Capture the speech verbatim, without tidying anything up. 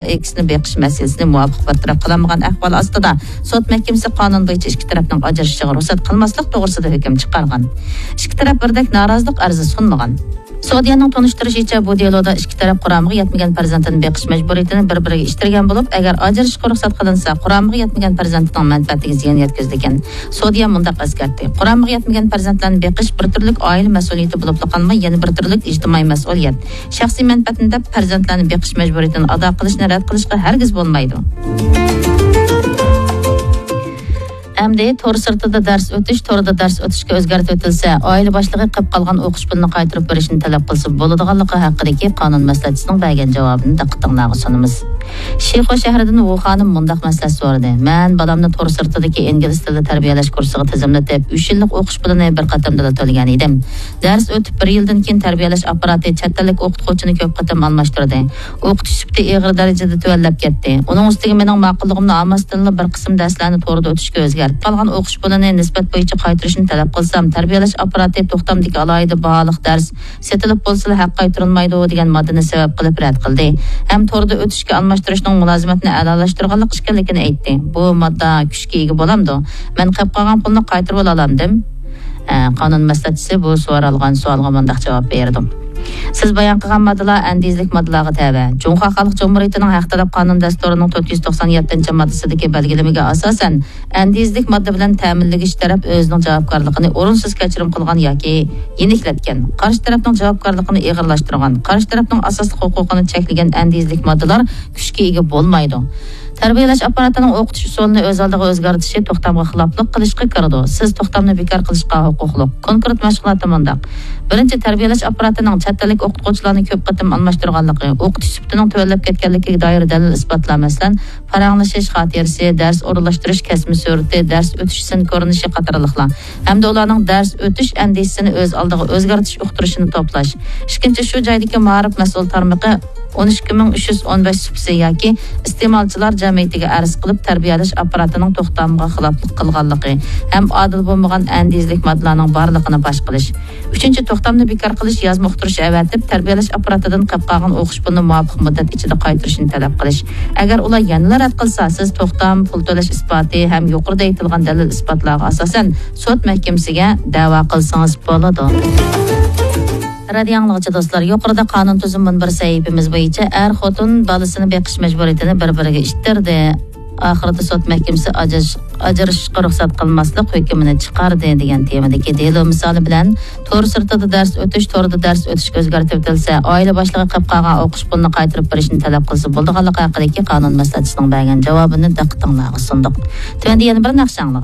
ئېكىسىنى بېقىش مەسىلىسىنى مۇۋاپىق بىر تەرەپ قىلالمىغان ئەھۋال ئاستىدا، سوت مەھكىمىسى قانۇن بويىچە ئىككى تەرەپنىڭ ئاجرىشىشىغا رۇخسەت قىلماسلىق توغرىسىدا ھۆكۈم چىقارغان. ئىككى تەرەپ بىردەك نارازىلىق ئەرزى سۇنمىغان. سودىيەنىڭ تونۇشتۇرۇشىچە، بۇ دېلودا ئىككى تەرەپ قۇرامىغا يەتمىگەن پەرزەنتىنى بېقىش مەجبۇرىيىتىنى بىر-بىرىگە ئىتتەرگەن بولۇپ، ئەگەر ئاجرىشىشقا رۇخسەت قىلىنسا، قۇرامىغا يەتمىگەن پەرزەنتىنىڭ مەنپەئەتىگە زىيان يەتكۈزىدىكەن. سودىيە مۇنداق ئەسكەرتتى: قۇرامىغا يەتمىگەن پەرزەنتلەرنى بېقىش بىر تۈرلۈك ئائىلە مەسئۇلىيىتى بولۇپلا قالماي، يەنە بىر تۈرلۈك ئىجتىمائىي مەسئۇلىيەت. شەخسىي مەنپەئەتنى دەپ، پەرزەنتلەرنى بېقىش مەجبۇرىيىتىنى ئادا قىلىشنى رەت قىلىشقا ھەرگىز بولمايدۇ. ئەمدى تور سىرتىدا دەرس ئۆتۈش، توردا دەرس ئۆتۈشكە ئۆزگەرتىۋېتىلسە، ئائىلە باشلىقى قېلىپ قالغان ئوقۇش پۇلىنى قايتۇرۇپ بېرىشنى تەلەپ قىلسا بولىدىغانلىقى ھەققىدىكى قانۇن مەسلىھەتچىسىنىڭ بەرگەن جاۋابىنى دىققىتىڭلارغا سۇنىمىز. شىخۇ شەھىرىدىن ۋۇ خانىم مۇنداق مەسلىھەت سورىدى: مەن بالامنى تور سىرتىدىكى ئىنگلىز تىلى تەربىيەلەش كۇرسىغا تىزىملىتىپ، ئۈچ يىللىق ئوقۇش پۇلىنى بىر قېتىمدىلا تۆلىگەن ئىدىم. دەرس ئۆتۈپ بىر يىلدىن كېيىن تەربىيەلەش ئاپپاراتى چەت ئەللىك ئوقۇتقۇچىنى كۆپ قېتىم ئالماشتۇردى. ئوقۇتۇش سۈپىتى ئېغىر دەرىجىدە تۆۋەنلەپ كەتتى. ئۇنىڭ ئۈستىگە مېنىڭ ماقۇللۇقۇمنى ئالماستىنلا بىر قىسىم دەرسلەرنى توردا ئۆتۈشكە ئۆزگەرتىپ، قالغان ئوقۇش پۇلىنى نىسبەت بويىچە قايتۇرۇشنى تەلەپ قىلسام، تەربىيەلەش ئاپپاراتى توختامدىكى ئالاھىدە باھالىق دەرس سېتىلىپ بولسىلا ھەق قايتۇرۇلمايدۇ دېگەن ماددىنى سەۋەب قىلىپ رەت قىلدى. ھەم توردا ئۆتۈشكە ئالماشتۇرۇشنىڭ مۇلازىمەتنى ئەلالاشتۇرغانلىق ئىكەنلىكىنى ئېيتتى. بۇ ماددا كۈچكە ئىگە بولامدۇ؟ مەن قېلىپ قالغان پۇلنى قايتۇرۇۋالالامدىم؟ ئە، قانۇن مەسلىھەتچىسى بۇ سورالغان سوئالغا مۇنداق جاۋاب بېرىدۇ: سىز بايان قىلغان ماددىلار ئەندىزىلىك ماددىلارغا تەۋە. جۇڭخۇا خەلق جۇمھۇرىيىتىنىڭ ھەق تەلەپ قانۇن دەستۇرىنىڭ تۆت يۈز توقسان يەتتىنچى ماددىسىدىكى بەلگىلىمىگە ئاساسەن، ئەندىزىلىك ماددا بىلەن تەمىنلىگۈچى تەرەپ ئۆزىنىڭ جاۋابكارلىقىنى ئورۇنسىز كەچۈرۈم قىلغان ياكى يېنىكلەتكەن، قارشى تەرەپنىڭ جاۋابكارلىقىنى ئېغىرلاشتۇرغان، قارشى تەرەپنىڭ ئاساسلىق ھوقۇقىنى چەكلىگەن ئەندىزىلىك ماددىلار كۈچكە ئىگە بولمايدۇ. تەربىيەلەش ئاپپاراتىنىڭ ئوقۇتۇش ئۇسۇلىنى ئۆز ئالدىغا ئۆزگەرتىشى توختامغا خىلاپلىق قىلىشقا كىرىدۇ. سىز توختامنى بىكار قىلىشقا ھوقۇقلۇق. كونكرېت مەشغۇلاتتا مۇنداق: بىرىنچى، تەربىيەلەش ئاپپاراتىنىڭ چەت ئەللىك ئوقۇتقۇچىلارنى كۆپ قېتىم ئالماشتۇرغانلىقى، ئوقۇتۇش سۈپىتىنىڭ تۆۋەنلەپ كەتكەنلىكىگە دائىر دەلىل-ئىسپاتلار، مەسىلەن، پاراڭلىشىش خاتىرىسى، دەرس ئورۇنلاشتۇرۇش كەسمە سۈرىتى، دەرس ئۆتۈش سىن كۆرۈنۈشى قاتارلىقلار ھەمدە ئۇلارنىڭ دەرس ئۆتۈش ئەندىزىسىنى ئۆز ئالدىغا ئۆزگەرتىش ئۇقتۇرۇشىنى توپلاش. ئىككىنچى، شۇ جايدىكى مائارىپ مەسئۇل تارمىقى ئون ئىككى مىڭ ئۈچ يۈز ئون بەش سۇپىسى ياكى ئىستېمالچىلار جەمئىيىتىگە ئەرز قىلىپ، تەربىيەلەش ئاپپاراتىنىڭ توختامغا خىلاپلىق قىلغانلىقى ھەم ئادىل بولمىغان ئەندىزىلىك ماددىلارنىڭ بارلىقىنى پاش قىلىش. ئۈچىنچى، توختامنى بىكار قىلىش، يازما ئۇقتۇرۇش ئەۋەتىپ، تەربىيەلەش ئاپپاراتىدىن قېلىپ قالغان ئوقۇش پۇلىنى مۇۋاپىق مۇددەت ئىچىدە قايتۇرۇشنى تەلەپ قىلىش. ئەگەر ئۇلار يەنىلا رەت قىلسا، سىز توختام، پۇل تۆلەش ئىسپاتى ھەم يۇقىرىدا ئېيتىلغان دەلىل-ئىسپاتلارغا ئاساسەن سوت مەھكىمىسىگە دەۋا قىلسىڭىز بولىدۇ. رادىيو ئاڭلىغۇچى دوستلار، يۇقىرىدا قانۇن تۈزۈم مۇنبىرى سەھىپىمىز بويىچە ئەر-خوتۇن بالىسىنى بېقىش مەجبۇرىيىتىنى بىر-بىرىگە ئىتتىردى. ئاخىرىدا سوت مەھكىمىسى ئاجرىش-، ئاجرىشىشقا رۇخسەت قىلماسلىق ھۆكمىنى چىقاردى دېگەن تېمىدىكى دېلو مىسالى بىلەن تور سىرتىدا دەرس ئۆتۈش، توردا دەرس ئۆتۈشكە ئۆزگەرتىۋېتىلسە، ئائىلە باشلىقى قېلىپ قالغان ئوقۇش پۇلىنى قايتۇرۇپ بېرىشنى تەلەپ قىلسا بولىدىغانلىقى ھەققىدىكى قانۇن مەسلىھەتچىسىنىڭ بەرگەن جاۋابىنى دىققىتىڭلارغا سۇندۇق. تۆۋەندە يەنە بىر ناخشا ئاڭلىغايلى.